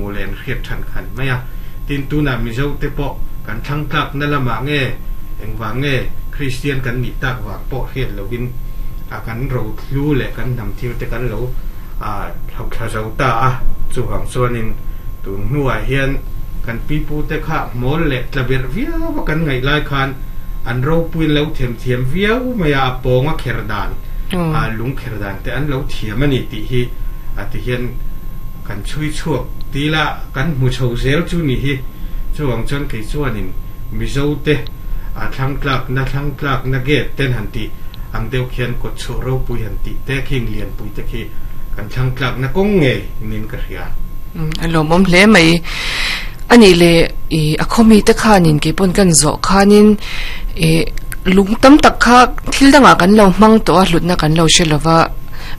hmuh leh an hriat than kha a ni mai a. Tin, tunah Mizo te pawh kan thlang tlakna lamah nge engvang nge Kristian kan nih tak vang pawh hriat lovin a kan rohlu leh kan hnam thil te kan lo hloh thla zo ta a. Chuvang chuanin tun hnuah hian kan pipu te kha hmawl leh tla berh viau a kan ngaih lai khan an ropuiin lo themthiam viau mai a, a pawng a kher dan, a lung kher dan te an lo thiam a ni tih hi a ti hian kan chhui chhuak til a, kan hmu chho zel chu ni hi. Chuvang chuan kei chuanin Mizo te a thlang tlakna thlang tlakna gate ten han tih ang deuh khian kawt chhuah ropui han tih te khing lianpui te khi kan thlang tlakna kawng ngei niin ka hria. A lawmawm hle mai. A nih leh ih a khawmi te khanin kei pawn kan zawh khanin ih lung tam tak kha thil dangah kan lo hmang tawh a hlutna kan lo hre lova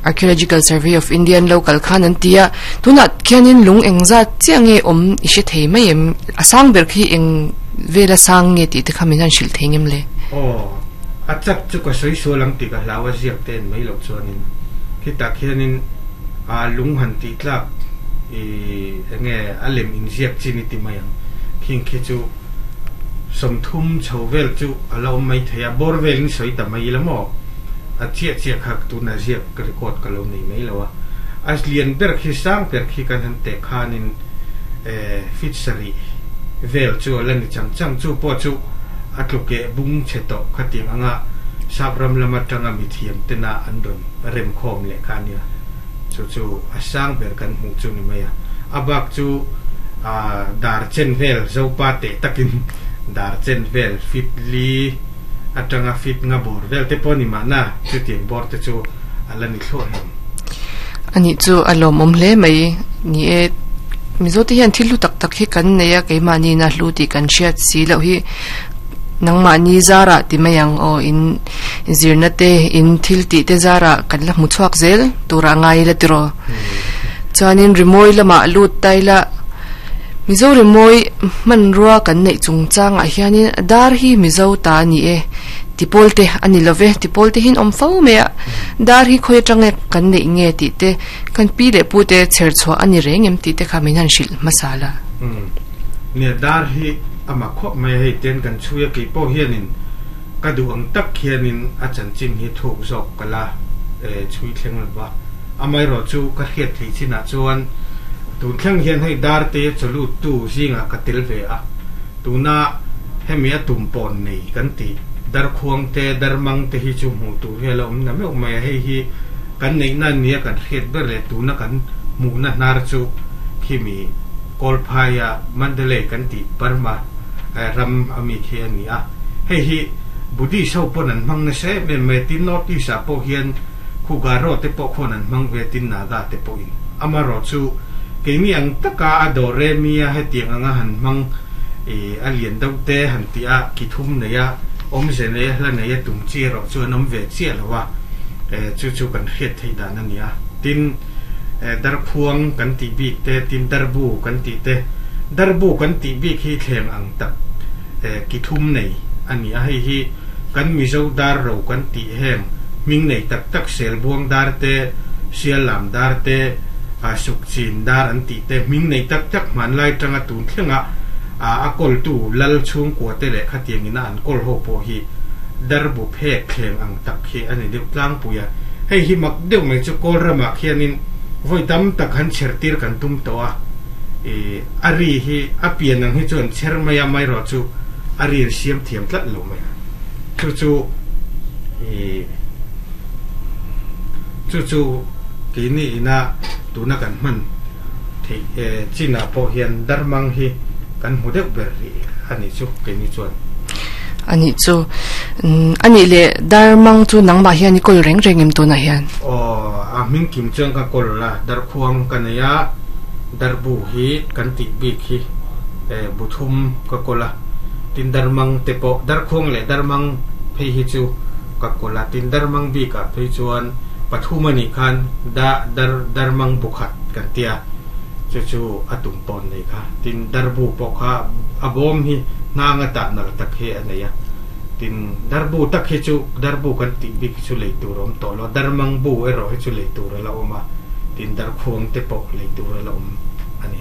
Archaeological Survey of India an lo kal khan an ti a tunah khianin lung engzat chiah nge awm i hre thei mai em a sang ber khi eng vela sang nge tih te kha min han hrilh thei ngem le? Aw a chak chu ka sawi sual ang tih ka hlau a ziak te en mai loh chuanin khitah khianin a lung han tih tlak i enge a lem inziak chin i ti mai ang khing khi chu 30 chho vel chu a la awm mai thei a bawr velin sawi ta mai ila maw a chiah chiah kha tuna ziak record ka lo nei mai lo a a lian ber khi sang ber khi kan han teh khanin feet sarih vel chu a la ni chang chang chu pawh chu a tlukeh bung chhe tawh khatiang anga sap ram lam atanga mithiam tena an rawn remkhawm leh kha a nia. Chu chu a sang ber kan hmuh chu ni mai a. A bak chu dar chen vel Zopa teh takin dar chen vel fit li atanga fit nga bawr vel te pawh a ni mahna chutiang bawr te chu a la ni thluah hlawm. A nih chu a lawmawm hle mai. Ni e, Mizo te hian thil hlu tak tak hi kan nei a, keimahniin a hlu tih kan hriat si loh hi nangmahni zarah ti mai ang aw in Zirna te, in thil tih te zarah kan la hmu chhuak zel turah ngai ila tiraw. Chuanin rimawi lamah lut ta ila Mizo rimawi hmanrua kan neih chungchangah hianin dar hi Mizo ta a ni e tipawl te a ni love tipawl te hian awm fo mai a dar hi khawi atanga kan neih nge tih te kan pi leh pu te chher chhuah a ni reng em tih te kha min han hrilh hmasa la. Nia dar hi a mak khawp mai a hei ten kan chhui a keipawh hianin Ka duh ang tak hianin a chanchin hi thuk zawk ka la chhui thleng lo va. Amaherawh chu ka hriat theih chinah chuan tun thleng hian hei Darte chawluttu zingah ka tel ve a. Tuna hemi a tum pawn nei kan tih Darkhuang te, Darmang te hi chu hmuh tur hi a la awm na meuh mai a. Hei hi kan neihna nia kan hriat ber leh tuna kan hmuhna hnar chu khimi Kawlphaia Mandalay kan tih Burma ram ami khi a ni a. Hei hi Buddhist ho pawn an hmang nasa em em mai a, tin North East ah pawh hian khu Garo te pawh khuan an hmang ve a, tin Naga te pawhin. Amaherawhchu keini ang taka a dawr remi a hetiang anga han hmang ih a lian deuh te han tih a, ki thum nei a, awmze nei a, hla nei a tum chi erawh chu an awm ve chiah lo a, chu chu kan hriat theih dan a ni a. Tin Darkhuang kan tih bik te, tin Darbu kan tih te, Darbu kan tih bik hi thleng ang tak ki thum nei a ni a, hei hi kan Mizo dar ro kan tih heng hming nei tak tak Selbuang dar te, Siallam dar te, Sukchin dar an tih te hming nei tak tak hmanlai tanga tun thlenga a kawltu lal chhungkua te leh khatiang ina an kawl ho pawh hi darbu phek thleng ang tak hi a ni deuh tlangpui a. Hei hi mak deuh mai chu kawl ramah khianin vawi tam tak han chhertir kan tum tawh a. I a ri hi a pian ang hi chuan chher mai a mai erawh chu a ri an siam thiam tlat lo mai a. Chu chu i chu chu keini ina tuna kan hman theih chinah pawh hian darmang hi kan hmu deuh ber rih a nih chu keini chuan. A nih chu. A nih leh darmang chu nangmah hian i kawl reng reng em tunah hian? Aw, a hming kim chuan ka kawl a, darkhuang ka nei a. Darbu hi kan tih bik hi bu thum ka kawl a, tin darmang te pawh darkhuang leh darmang phei hi chu ka kawl a, tin darmang bikah phei chuan pathum a nih khan da dar darmang bu khat kan tia chu chu a tum pawn nei kha, tin darbu pawh kha a bawm hi hnang a tah nalh tak hi a nei a, tin darbu tak hi chu darbu kan tih bik hi chu lei tur a awm tawh lo, darmang bu erawh hi chu lei tur a la awm a. Tin darkhuang te pawh lei tur a la awm a ni.